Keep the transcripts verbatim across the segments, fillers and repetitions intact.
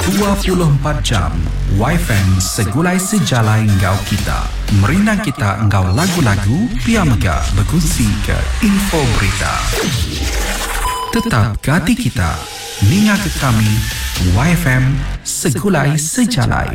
Dua puluh empat jam Y F M segulai sejalai enggau kita. Merindang kita enggau lagu-lagu, pia mega bekunsi ke info berita. Tetap ke ati kita. Ninga ke kami Y F M segulai sejalai.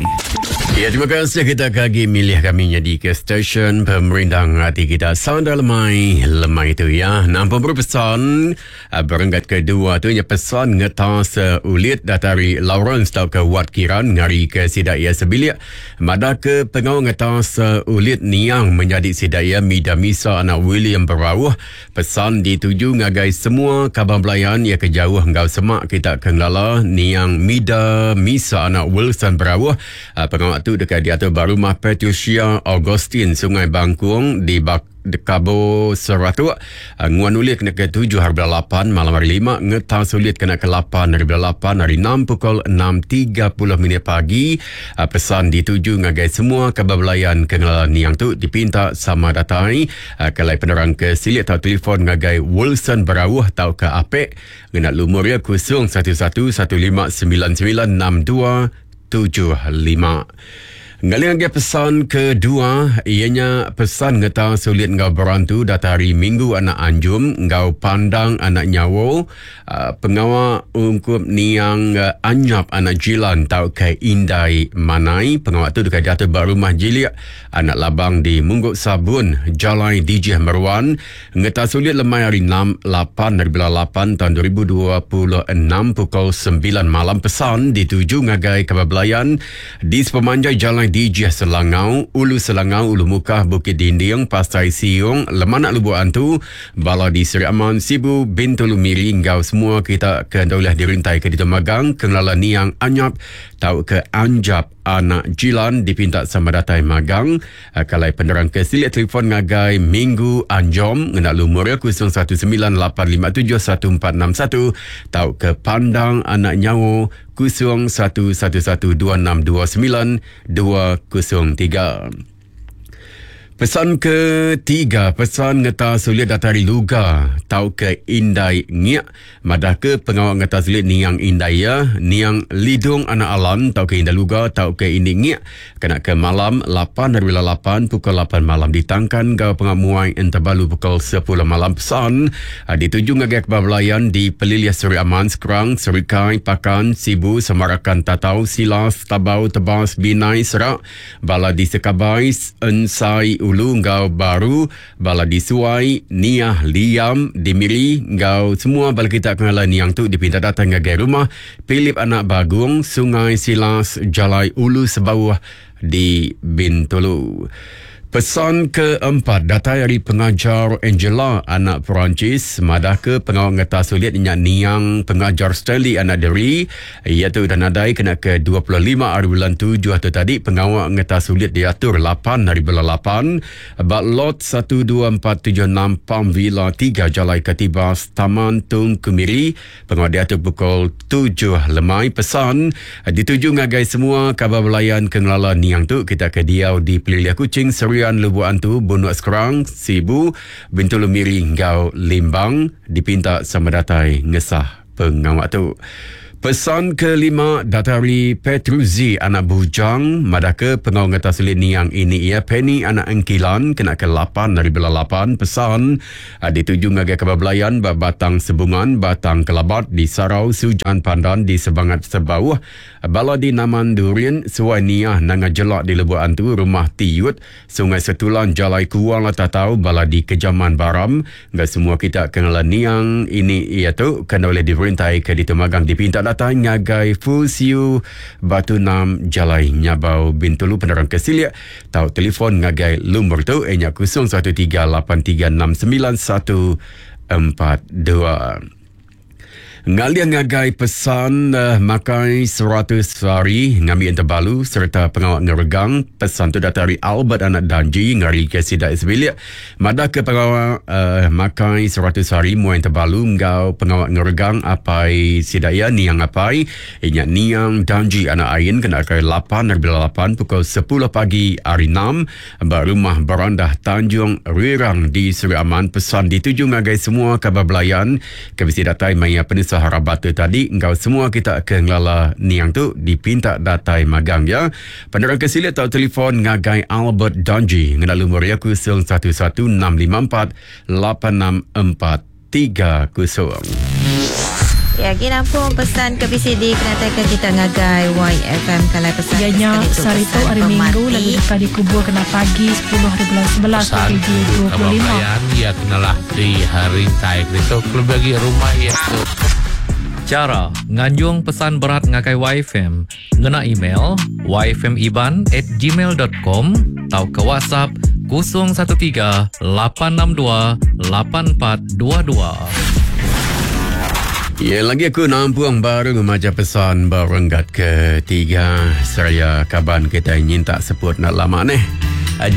Ya, terima kasih kita lagi milih kami jadi ke stesen pemerintah hati kita. Sanda lemai, lemai itu ya. Nampak berpesan, uh, berenggat kedua tu, ya pesan ngetas uh, ulit datari Lawrence tau ke Wat Kiran ngari ke sidak ia sebilik. Mada ke pengau ngetas uh, ulit niang menjadi sidak ia Mida Misa anak William Berauh. Pesan dituju ngagai semua kaban belayan ia ke jauh ngau semak kita ke ngelala niang Mida Misa anak Wilson Berauh. Uh, pengawak tu dekat diatur rumah Patricia Augustine, Sungai Bangkung di Bak Kabo Seratuk. Uh, nguan ulit kena ke tujuh hari lapan malam hari lima, ngetang sulit kena ke lapan hari lapan hari enam pukul enam tiga puluh minit pagi. Uh, pesan dituju ngagai semua kabar belayan ke niang tu dipinta sama datai. Uh, kalau penerang ke silik atau telefon ngagai Wilson Berauh atau ke Apek ngena lumur ya kosong satu satu satu lima sembilan sembilan enam dua tujuh lima. Ngali lagi pesan kedua, ianya pesan ngeta sulit ngau berantu datari Minggu anak Anjum ngau Pandang anak Nyawo, uh, pengawa ungkup niang uh, Anyap anak Jilan tau ke Indai Manai. Pengawa tu dekat jatuh rumah Jilik anak Labang di Mungguk Sabun, Jalai D J Meruan. Ngeta sulit lemai hari enam lapan dari lapan tahun dua ribu dua puluh enam pukul sembilan malam. Pesan dituju ngagai kabar belayan di sepemanjai Jalai D J Selangau, Ulu Selangau, Ulu Mukah, Bukit Dinding, Pasai Siung, Lemanak Lubuk Antu, Bala di Seri Aman, Sibu, Bintulu, Miri, ngau semua kita ke daulah dirintai ke Ditemagang, Kenglala Niang Anyap, tau ke Anjap anak Jilan dipinta sama datai magang. Uh, kalau penerang ke silik telefon ngagai Minggu Anjom ngena lumur ya kosong satu sembilan lapan lima tujuh satu empat enam satu tau ke Pandang anak Nyawo kosong satu satu satu dua enam dua sembilan dua kosong tiga. Pesan ketiga, pesan ngeta sulit datari Luga tau ke Indai Ngiak madah ke pengawal ngeta sulit niang Indai ya niang Lidung anak Alam tau ke Indai Luga tau ke Indi Ngiak kena ke malam lapan dari lapan pukul lapan malam ditangkan gau pengamuai entabalu pukul sepuluh malam. Pesan ah, dituju ngagai kebablayan di Peliliah Seri Aman, Sekerang, Serikai, Pakan, Sibu, Semarakan, Tatau, Silas, Tabau, Tebas, Binai, Serak, Bala di Sekabai, Ensai Ulu ngau Baru, Bala di Suai, Niah, Liam, Dimiri ngau semua bala kita kenala niang tu dipinta datang ngagai rumah Philip anak Bagung, Sungai Silas, Jalai Ulu Sebawah di Bintulu. Pesan keempat datai dari pengajar Angela anak Perancis madah ke pengawal ngeta sulit nyak niang pengajar Stanley anak Deri iaitu dan nadai kena ke dua puluh lima hari bulan tujuh atau tadi. Pengawal ngeta sulit diatur lapan hari bulan lapan bak lot satu dua empat tujuh enam Palm Villa tiga, Jalai Katibas, Taman Tung Kemiri. Pengawal diatur pukul tujuh lemai. Pesan dituju ngagai semua kabar belayan kengelala niang tu kita ke diau di Peliliah Kuching, Serian, Lubuk Antu, Bunuk Sekerang, Sibu, Bintulu, Miri ngau Limbang dipinta sama datai ngesah pengawak tu. Pesan kelima datari Petruzi anak Bujang madaka pengawal ngeta sulit niang ini ia Penny anak Engkilan kena ke lapan dari bela lapan. Pesan uh, dituju ngagai kabar belayan Batang Sebungan, Batang Kelabat di Sarau, Sujan Pandan di Sebangat Sebauh, Bala di Naman Durian, Suai Niah Nanga Jelak di Lubuk Antu, Rumah Tiut, Sungai Setulan, Jalai Kuang Tatau, Bala di Kejaman Baram enggak semua kita kenal niang ini ia tu kena oleh diperintah ke Ditemagang dipinta datang ngagai Fusiu Batu Nam, Jalai Nyabau, Bintulu. Penerang kesilia tau telefon ngagai lumur tu ianya kosong satu tiga lapan tiga enam sembilan satu empat dua. Ngalia ngagai pesan uh, makai seratus hari ngambil terbalu serta pengawal ngeregang. Pesan tu datari Albert anak Danji ngari ke sidak sebilik madah ke pengawal uh, makai seratus hari muai terbalu ngau pengawal ngeregang apai sidak ya niang apai inya niang Danji anak Ain kena ke lapan dari lapan pukul sepuluh pagi hari enam rumah Berandah Tanjung Rirang di Seri Aman. Pesan dituju ngagai semua kabar belayan ke bisi datai maya penusa. penusah rabat tu tadi engkau semua kita ke ngelala niang tu dipinta datai magang ya. Penerang ke silik atau telefon ngagai Albert Danji ngena lumur ya kosong satu satu enam lima empat lapan enam empat tiga kosong. Ya, gini nampung pesan ke B C D kena tag kita ngagai Y F M kalau pesan Ya, nya sekali tu sehari pesan tu hari Minggu pemati. Lalu dekat dikubur kena pagi sepuluh hari bulan sebelas Pesan dua ribu dua puluh lima. Kabayan, ya kenalah di hari tai itu lebih bagi rumah ya tu. Cara nganjung pesan berat ngagai Y F M ngena email y f m iban at gmail dot com atau ke WhatsApp kosong satu tiga lapan enam dua lapan empat dua dua. Ya, lagi aku nampung baru membaca pesan berenggat ketiga. Seraya kaban kita nyintak seput nak lama ni.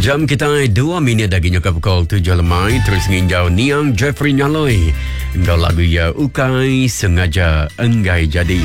Jam kita dua minit lagi nyokap pukul tujuh lemai. Terus nginjau Niang Jeffrey Nyaloi. Engkau lagu ya ukai sengaja enggai jadi.